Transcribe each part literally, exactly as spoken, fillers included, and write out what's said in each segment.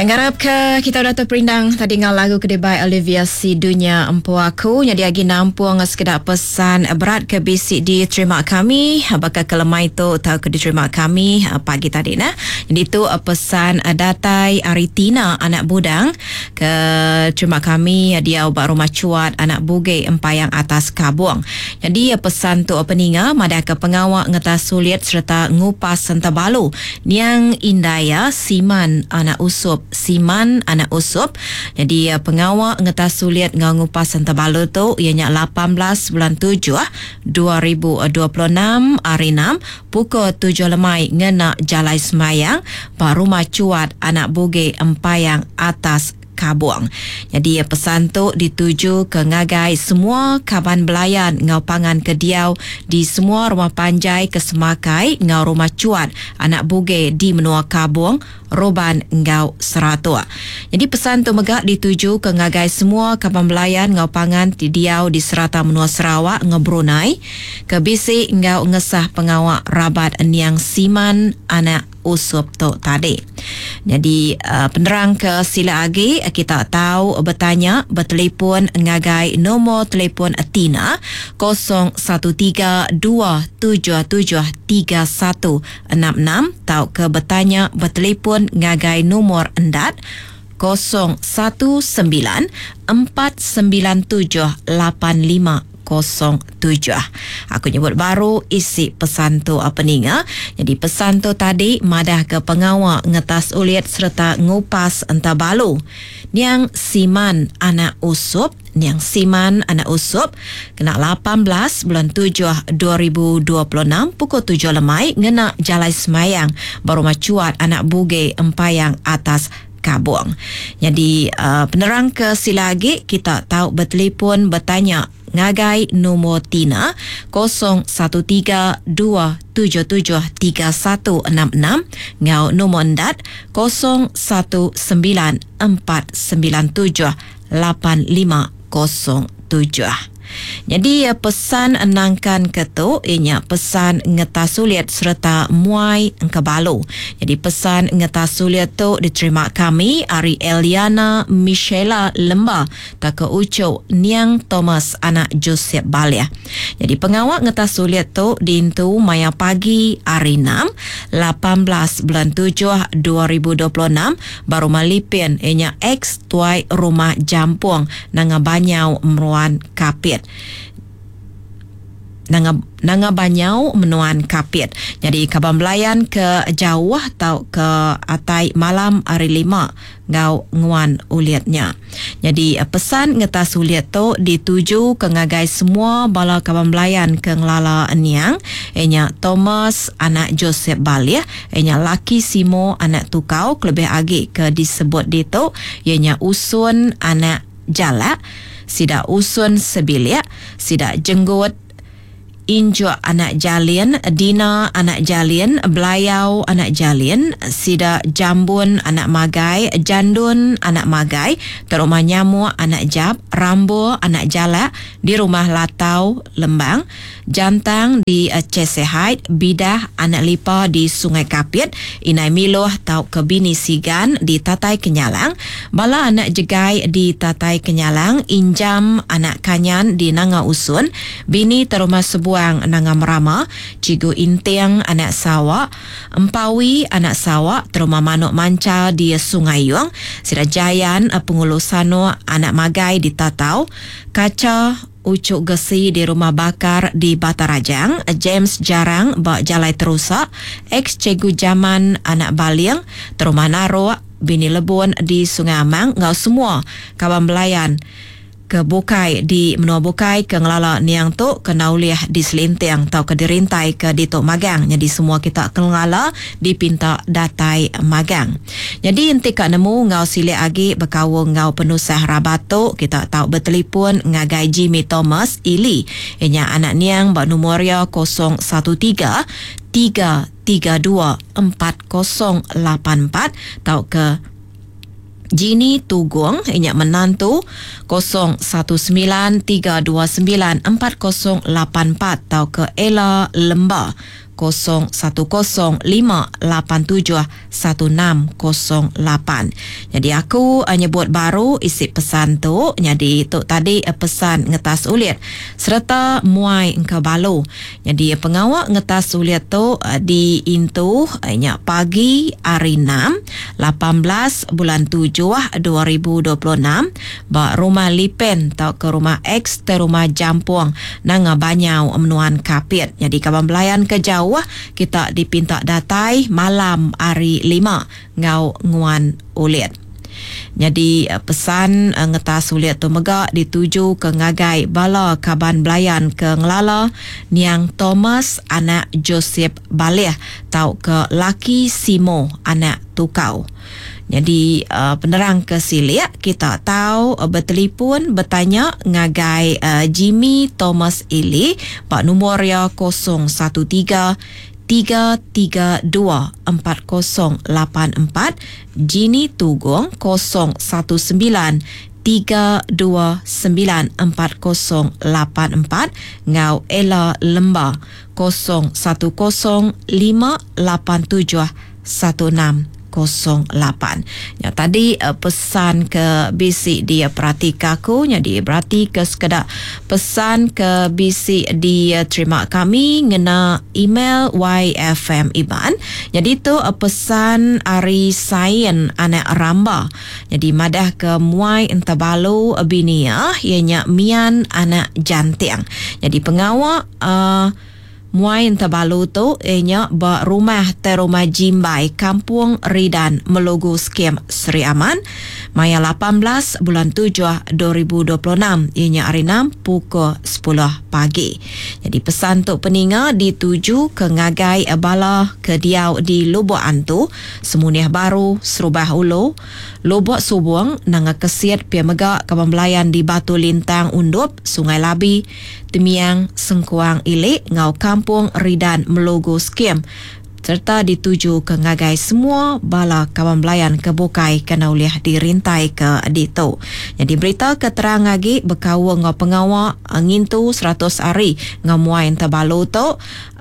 Ngarap ke kita udah terperindang tadi ngau lagu ke dibai Olivia Si Dunya Empu Aku. Jadi agi nampung sekeda pesan berat ke bisi diterima kami baka ke lemai tu tau ke diterima kami pagi tadi nah. Jadi tu pesan datai ari Tina anak Budang ke terima kami dia ba rumah Cuat anak Buge Empayang Atas Kabung. Jadi pesan tu peninga madah ke pengawa ngetas sulit serta ngupas sentabalu niang Indaya Siman anak Usup. Siman anak Usup. Jadi pengawa ngetas sulit ngau ngupas sentabalu tu ianya lapan belas bulan tujuh dua ribu dua puluh enam hari enam pukul tujuh lemai ngena Jalai Semayang ba rumah Cuat anak Buge Empayang Atas Kabung. Jadi pesan tu dituju ke ngagai semua kaban belayan ngau pangan ke diau di semua rumah panjai ke Semakai ngau rumah Cuat anak Buge di menua Kabung, Roban ngau Seratuk. Jadi pesan tu mega dituju ke ngagai semua kaban belayan ngau pangan ti diau di serata menua Sarawak ngau Brunei ke bisi ngau ngesah pengawa rabat niang Siman anak Usup tu tadi. Jadi uh, penerang ke sila agi kita tahu bertanya bertelefon ngagai nombor telefon Tina kosong satu tiga dua tujuh tujuh tiga satu enam enam tau ke bertanya bertelefon ngagai nombor endat kosong satu sembilan empat sembilan tujuh lapan lima kosong tujuh. Aku nyebut baru isi pesan tu apa ninga. Jadi pesan tu tadi madah ke pengawa ngetas ulit serta ngupas entabalu niang Siman anak Usup, niang Siman anak Usup kena lapan belas bulan tujuh dua ribu dua puluh enam pukul tujuh lemai ngena Jalai Semayang baru Cuat anak Buge Empayang Atas Kabung. Jadi uh, penerang ke sila agi kita tahu bertelefon bertanya ngagai nombor Tina kosong satu tiga dua tujuh tujuh tiga satu enam enam ngau nombor endat kosong satu sembilan empat sembilan tujuh lapan lima kosong tujuh. Jadi pesan nangkan ke tu ianya pesan ngetas sulit serta muai engkebalu. Jadi pesan ngetas sulit tu diterima kami ari Eliana Michela Lemba tak ke Ucuk Niang Thomas anak Joseph Balia. Jadi pengawak ngetas sulit tu diintu maya pagi hari enam lapan belas bulan tujuh dua ribu dua puluh enam baru malipin ianya ex tuai rumah Jampung Nanga Banyau Meruan Kapit. Nanga, Nanga Banyau Menuan Kapit. Jadi kaban belayan ke jauh tau ke atai malam hari lima ngau nguan uliatnya. Jadi pesan ngetas uliat tu dituju ke ngagai semua bala kaban belayan ke ngelala niang ianya Thomas anak Joseph Balih, ianya laki Simo anak Tukau kelebih agi ke disebut ditu ianya Usun anak Jalak, sida Usun Sebilik, sida Jenggut Injuk anak Jalin, Dina anak Jalin, Belayau anak Jalin, sida Jambun anak Magai, Jandun anak Magai, terumah Nyamuk anak Jab, Rambo anak Jalak di rumah Latau Lembang, Jantang di Cesehait, Bidah anak Lipa di Sungai Kapit, Inai Miloh tau ke Bini Sigan di Tatai Kenyalang, Bala anak Jegai di Tatai Kenyalang, Injam anak Kanyan di Nanga Usun, Bini terumah sebuah Buang Nanga Merama, Cigu Intiang anak Sawak, Empawi anak Sawak, terumah Manuk Manca di Sungai Yuang, Sida Jayan Pengulu Sano anak Magai di Tatau, Kaca Ucuk Gesi di Rumah Bakar di Batarajang, James Jarang ba Jalai Terusak, ex Cikgu Jaman anak Baling, terumah Narok, Bini Lebun di Sungai Amang, ngau semua kawan belayan ke bukai di menua bukai ke ngelala niang tu ke nauliah di Selintiang atau ke dirintai ke di Tok Magang. Jadi semua kita ke ngelala dipinta datai magang. Jadi enti ka nemu ngau silik agi berkaul ngau penusah rabat tu kita tau bertelefon ngagai Jimmy Thomas Ili ianya anak niang ba nombor ia kosong satu tiga tiga tiga dua empat kosong lapan empat tau ke Gini Tugung inya menantu kosong satu sembilan tiga dua sembilan empat kosong lapan empat tau ke Ella Lemba kosong satu kosong lima lapan tujuh satu enam kosong lapan. Jadi aku nyebut baru isi pesan tu. Jadi tu tadi pesan ngetas ulit serta muai engkau balu. Jadi pengawak ngetas ulit tu diintu nya pagi hari enam lapan belas bulan tujuh dua ribu dua puluh enam ba rumah Lipen atau ke rumah X te rumah Jampong Nanga Banyau Menuan Kapit. Jadi kawan belayan ke jauh kita dipinta datai malam hari lima ngau nguan ulit. Jadi pesan ngetas ulit tu mega dituju ke ngagai bala kaban belayan ke ngelala niang Thomas anak Joseph Baleh tau ke laki Simo anak Tukau. Jadi penerang ke silik kita tahu bertelefon bertanya ngagai Jimmy Thomas Ili pak nombor ya kosong satu tiga tiga tiga dua empat kosong lapan empat, Jini Tugong kosong satu sembilan tiga dua sembilan empat kosong lapan empat, ngau Ella Lemba kosong satu kosong lima lapan tujuh satu enam kosong lapan. Ya tadi uh, pesan ke B C dia perhati aku, jadi berarti ke sekedak pesan ke B C dia terima kami ngena email Y F M Iban. Jadi tu uh, pesan ari sain anak ramba. Jadi madah ke muai entabalu binia ianya mian anak jantiang. Jadi pengawak uh, muai entabalu tu ianya ba rumah terumah Jimbai Kampung Ridan Melugu Skim Seri Aman maya lapan belas bulan tujuh dua ribu dua puluh enam ianya hari enam pukul sepuluh pagi. Jadi pesan tu peninga dituju ke ngagai bala ke diau di Lubuk Antu, Semuniah Baru, Serubah Ulu, Lubuk Subung, Nanga Kesit, Pia Mega, Kaban Belayan di Batu Lintang Undup, Sungai Labi, Temiang, Sengkuang Ilik, Ngau Kampung Ridan Melugu Skim serta dituju ke ngagai semua bala kawan belayan ke bukai kena uliah dirintai ke ditu. Jadi berita keterang lagi berkawang ngau pengawak ngintu seratus hari ngau muai terbalu tu.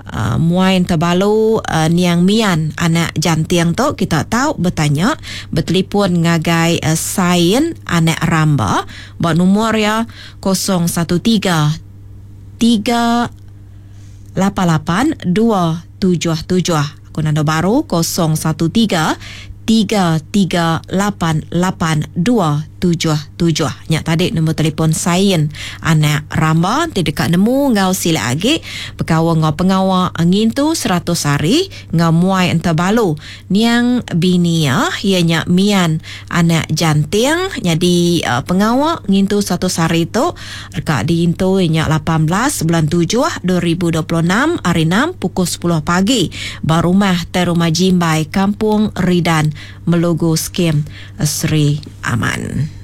Uh, muai terbalu uh, niang mian anak jantiang tu kita tahu bertanya bertelefon ngagai uh, sain anak ramba buat nombor ya kosong satu tiga tiga lapan lapan dua tujuh tujuh. Aku nanda baru kosong satu tiga tiga tiga lapan lapan dua tujuh tujuh. Nyak tadi nombor telefon sain anak ramba ti dekat nemu ngau sila agi pekawa ngau pengawa ngintu seratus hari ngau muai entabalu niang binia ianya mian anak janting. Jadi uh, pengawa ngintu seratus hari tu dekat diintu ianya lapan belas bulan tujuh dua ribu dua puluh enam hari enam pukul sepuluh pagi ba rumah Terumah Jimbai Kampung Ridan Melugu Skim Seri Aman.